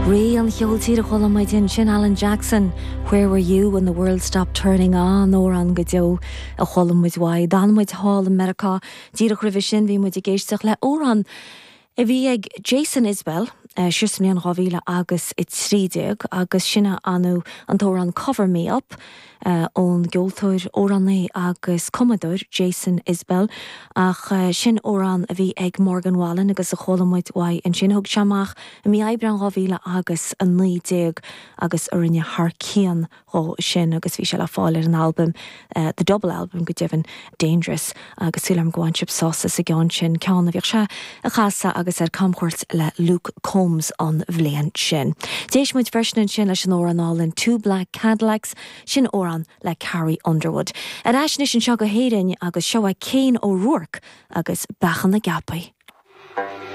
Rí an cheoil tíre a chuala muid ansin, Alan Jackson, Where Were You When The World Stopped Turning An-amhrán go deo a chuala muid uaidh. D'fhan muid thall i Meiriceá díreach roimhe sin, bhí muid ag éisteacht le amhrán a bhí ag Jason Isbell siar sa mbliain 2000 agus 13 agus sin é an t-amhrán Cover Me Up. ón gceoltóir, amhránaí agus cumadóir Jason Isbell, ach sin amhrán a bhí ag Morgan Wallen agus a chuala muid uaidh ansin. Thug sé amach i mí Aibreán 2000 agus 19 agus a rinne thar cionn dhó sin agus bhí sé le fáil ar an albam, The Double Album go deimhin, Dangerous agus súil agam go bhain sibh sásamh as an gceann sin, ceann a bhíodh sé a chasadh agus ar camchuairt le Luke Combs an bhliain sin. D'éist muid freisin ansin leis an amhrán álainn Two Black Cadillacs, sin amhrán le Carrie Underwood. Ar ais anois anseo go hÉirinn agus seo é Cian O'Rourke agus Beacha na gCeapaí.